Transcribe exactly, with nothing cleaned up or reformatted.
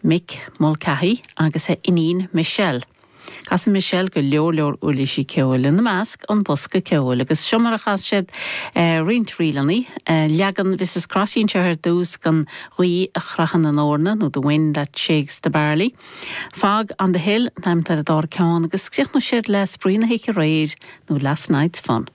Mick Mulcahy agus a iníon Michelle. Casann Michelle go leor leor uirlisí ceoil ina measc an bosca ceoil agus seo mar a chas siad eh, roinnt ríleanna eh, leagan Mrs. Crotty anseo ar dtús den Ghaoth a Chroitheann an Eorna nó the wind that shakes the barley. Fog on the hill an t-ainm ar an dara ceann agus críochnóidh siad le Spraoi na hOíche Aréir nó last night's fun.